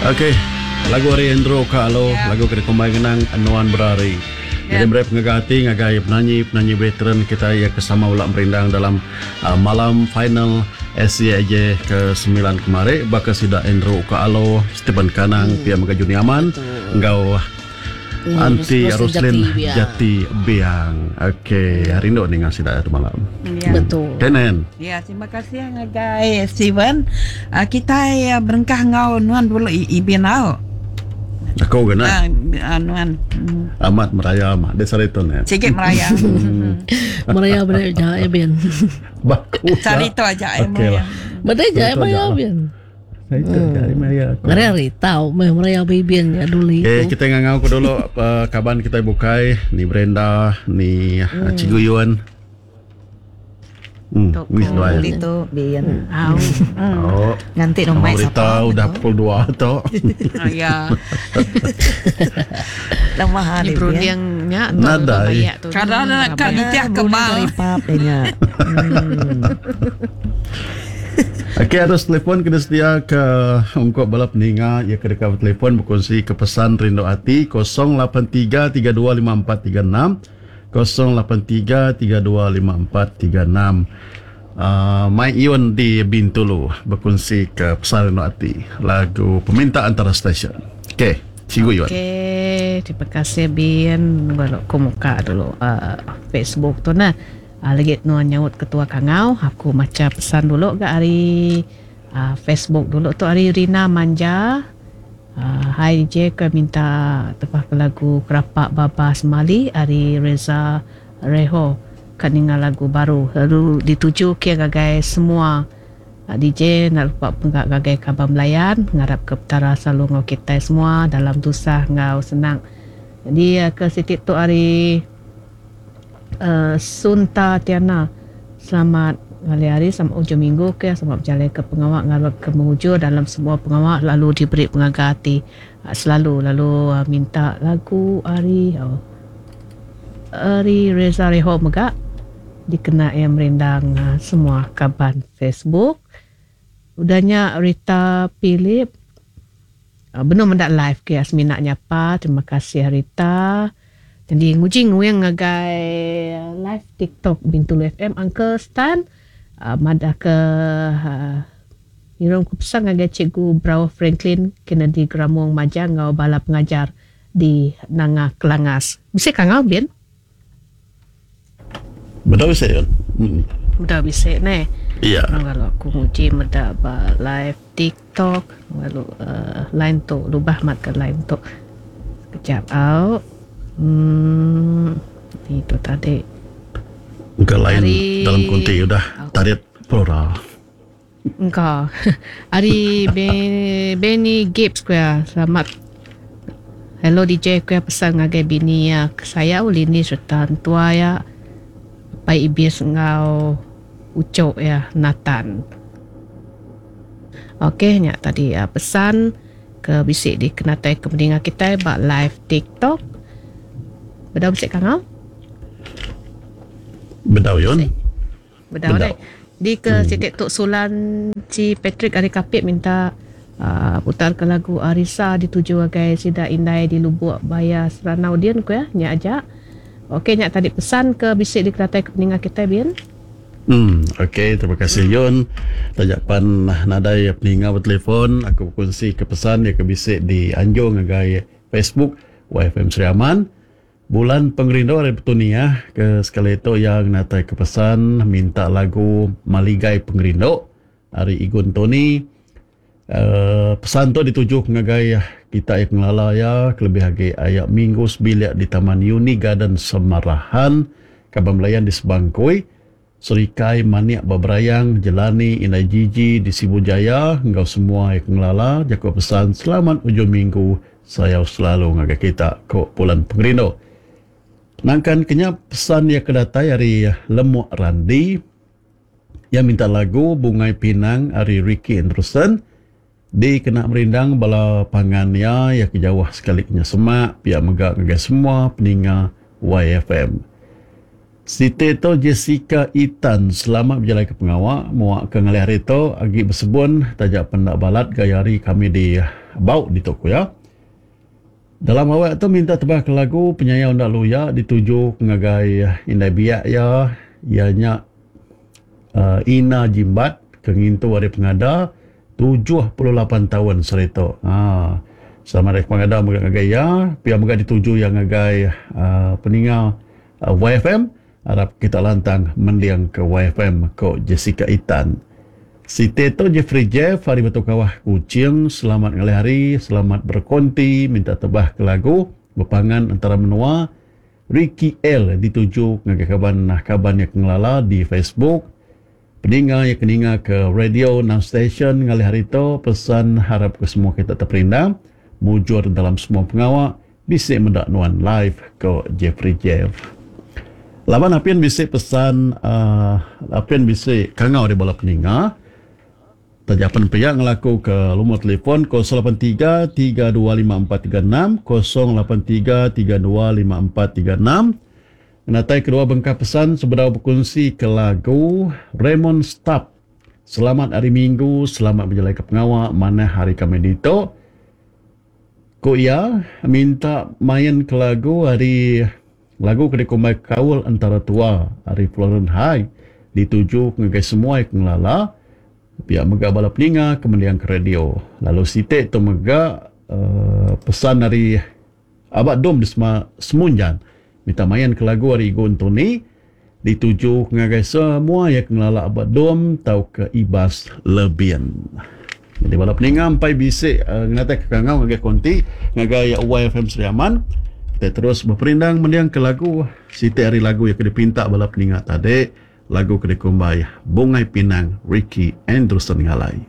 Okey, lagu ari Andrew ka alu lagu ke dikumbai ngenang Nuan Berari. Nyadi meri pengaga ati ngagai penanyi-penanyi veteran kitai iya ke sama bela merindang dalam malam final SCAJ ke semilan kemari baka sida Andrew Uka Alo, Stephen Kanang, pia mega Juni Aman enggau Aunty Roslyn Jati Biang. Okey, rindu ninga sida tu malam. Betul. Kenen. Ya, terima kasih ngagai Steven. Kitai berengkah enggau nuan dulu Ibin au. Aku ke nah. Nuan. Amat meraya mah di sehari tu nen. Sigi meraya. Meraya beda ja Ibin. Baku. Sehari tu aja Okey lah. Beda ja meraya Ibin. Ngeri tau meh meraya bibin nya duli. Okay, kita ngangau ku dulu kaban kita bukai ni Brenda ni Cikgu Yun. Hmm, ni seduai. Duli tu bin. Au. Oh. Nganti rumah sapa. Udah pukul 2 tu. Ya. Lama hari berunding nya tu. Nadai. Kada nak ka nitih ke bal. Nya. Okey arus telefon kena sedia ke ungkup bala peninga iya ke deka betelefon bekunsi ke pesan rindu ati 0833254436 0833254436 uh, Mai Ion di Bintulu bekunsi ke pesan rindu ati lagu peminta antara stesen. Okey, Cikgu Ion. Okey, terima kasih Bin. Baru aku muka dulu uh, Facebook tu nah. Lagi nuan nyaut ketua kangau, aku macha pesan dulu ga ari Facebook dulu tu ari Rina Manja. Hai DJ ke minta tebah ke lagu Kerapak Baba Semali ari Reza Reho ka ninga lagu baru lalu dituju ke ngagai semua DJ enda lupa pengga ngagai kaban belayan ngarap ke Petara selalu enggau kitai semua dalam tusah enggau senang. Jadi ke siti tu ari. Sunta Tiana, Selamat ngalih hari, selamat ujung minggu ke, selamat bejalai ke pengawa ngarap ke mujur dalam semua pengawa lalu diberi pengaga ati selalu lalu minta lagu ari ari Reza Reho mega dikena iya merindang semua kaban Facebook. Udah nya Rita Philip benung meda live ke semina nyapa terima kasih Rita. Jadi nguji nguing ngagai live TikTok Bintulu FM Uncle Stan madah ke ngirum ke pesan ngagai Cikgu Brauh Franklin Kennedy Gramong Majang enggau bala pengajar di Nanga Kelangas. Bisi kangau bin? Bedau bisi kan? Bedau bisi neh. Iya. Lalu aku nguji meda ba live TikTok lalu uh, line tu lubah mat ke line tu. Sekejap au. Hmm itu tadi. Engka line Ari... dalam kunti udah tarit flora. Engka. Ari Benny Gibbs ku iya. Selamat Hello DJ ku iya pesan ngagai bini iya ke sayau Lini sereta entua iya Apai Ibis enggau uchu iya Nathan. Okey nya tadi pesan ke bisi dikenatai ke peninga kitai ba live TikTok. Bedau bisi kangau? Bedau yun. Bedau deh. Di ke siti tu Sulan Chi Patrick ari Kapit minta uhh putar ke lagu Arisa dituju agai sida indai di Lubuk Baya Seranau din ku iya. Nya aja. Ok nya tadi pesan ke bisi dikenatai ke peninga kitai bin. Emm ok terima kasih Yun. Taja pan nadai peninga betelefon aku bekunsi ke pesan iya ke bisi di anjung ngagai Facebook YFM Sri Aman. Bulan Pengerindu ari Petunia ke sekali tu iya ngenatai ke pesan minta lagu Maligai Pengerindu ari Igun Tony. Uhh pesan tu dituju ke ngagai kita iya pengelala iya kelebih agi aya minggu sebilik di Taman Uni Garden Semarahan Kaban Belayan di Sebangkui, Serikai Manik ba Berayang, Jelani Indai Jiji di Sibu Jaya enggau semua iya ke ngelala jaku pesan selamat ujung minggu sayau selalu ngagai kita, ku Pulan Pengerindu. Nangkan ke nya pesan iya ke datai ari Lemuk Randi iya minta lagu Bungai Pinang ari Ricky Anderson dikena merindang bala pangan iya iya ke jauh sekali ke nya semak pia mega ngagai semua peninga YFM. Siti tu Jessica Itan selamat bejalaika pengawa muak ke ngalih hari tu agi besebun taja pen enda balat gaya hari kami di Bau ditu ku iya. Dalam awak tu minta tebah ke lagu penyayau enda luya dituju ke ngagai indai biak iya iya nya uhh Ina Jimbat ke ngintu hari pengada 78 taun sehari tu. Haa selamat hari pengada mega ngagai iya pia mega dituju iya ngagai uhh peninga YFM arap kita lantang mending ke YFM ko Jessica Itan. Siti tu Jeffrey Jeff ari Batu Kawah Kuching selamat ngalih hari selamat berkonti minta tebah ke lagu bepangan entara menua Ricky L dituju ngagai kaban kaban iya ke ngelala di Facebook peninga iya ke ninga ke radio enam station ngalih hari tu pesan harap ke semua kita teperindang mujur dalam semua pengawa Bisi meda nuan live ko Jeffrey Jeff. Laban apin bisi pesan uhh apin bisi kangau ari bala peninga. Taja pen pia ngelaku ke lumur telefon 083 325436 083 325436. Ngenatai kedua bengkah pesan sebedau bekunsi ke lagu Raymond Stap. Selamat hari Minggu, selamat bejalai ke pengawa manah hari kami ditu. Ku iya, minta main ke lagu ari lagu ke dikumbai Kaul Entara Tua ari Florence High dituju ngagai semua ke ngelala pia mega bala peninga ke mending ke radio. Lalu siti tu mega uhh pesan ari Aba Dom di Semunjan minta main ke lagu ari Igu Entoni dituju ngagai semua iya ke ngelala ba Dom tauka Ibas Lebin. Nyadi bala peninga empai bisi ngenatai ke kangau ngagai konti ngagai YFM Sri Aman. Kitai terus beperindang mending ke lagu siti ari lagu iya ke dipinta bala peninga tadi lagu ke dikumbai Bungai Pinang Ricky Andrewson Ngalai.